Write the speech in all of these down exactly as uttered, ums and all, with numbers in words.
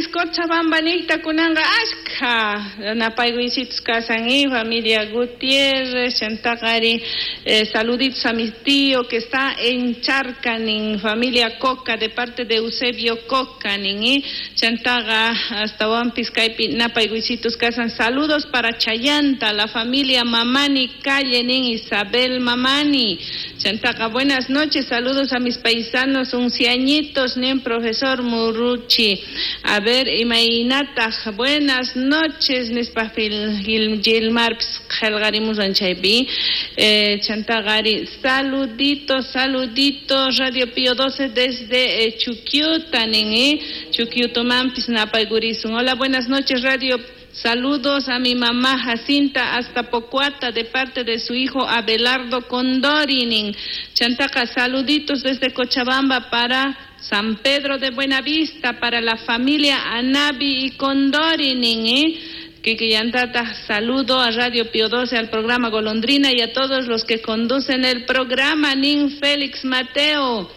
Masis Cochabamba nikta kunanqa ashkha napaykuysitus kasan y familia Gutiérrez, chantaqari eh, saluditos a mi tío que está en Charcanin, familia Coca, de parte de Eusebio Coca, nin, chantaqa astawanpis kaypi napaykuysitus kasan. Saludos para Chayanta, la familia Mamani Calle, nin Isabel Mamani. Chantaqa, buenas noches, saludos a mis paisanos unciañitos, nin profesor Muruchi. A ver, imaynataq, buenas noches, nispa Gilmar qhelqarimusan chaypi. Eh, chantaqari, saluditos, saluditos, Radio Pío doce desde eh, Chuquiuta, nin, eh? Chuquiutomanpis napaykurisun. Hola, buenas noches, Radio. Saludos a mi mamá Jacinta hasta Pocuata de parte de su hijo Abelardo Condorinin. Chantaqa, saluditos desde Cochabamba para San Pedro de Buenavista, para la familia Anabi y Condorinin, ¿eh? Kikillantata, saludo a Radio Pío doce, al programa Golondrina y a todos los que conducen el programa, nin Félix Mateo.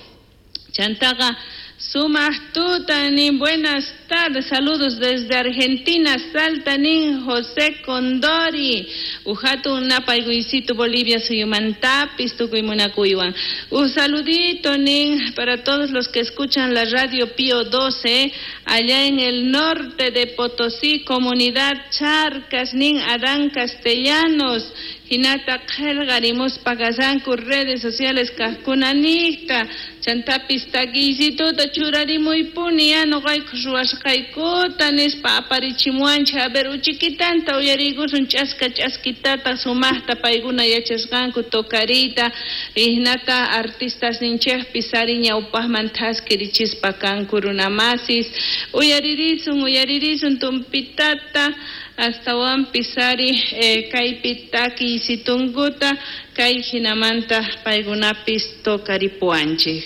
Chantaqa, sumaq tuta, nin, buenas tardes, saludos desde Argentina, Salta, nin José Condori, Ujatu napaykuysito Bolivia suyumantapis, tukuy munakuywan. Un saludito, nin, para todos los que escuchan la Radio Pío doce, allá en el norte de Potosí, comunidad Charcas, nin Adán Castellanos, hinata qhelqarimuspa kasanku redes sociales kajkunanikta, chantapis takiysituta churarimuypuni ya noqayku ruwasqaykuta nispa aparichimuwanchik. A ver, uchikitanta uyariykusun ch'aska ch'askitata sumaqta paykuna yachasqanku tocariyta, hinata artistas ninchikpis ari ñawpaqman thaskirichispa kanku runamasis. Uyaririsun, uyaririsun tumpitata astawanpis ari eh, kaypi takiysitunkuta kay hinamanta paykunapis tocaripuwanchik.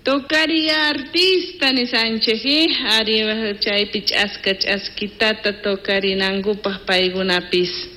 Tocaría artista nisanchik, eh? Ari chaypi ch'aska ch'askitata tocarinankupaq paykunapis.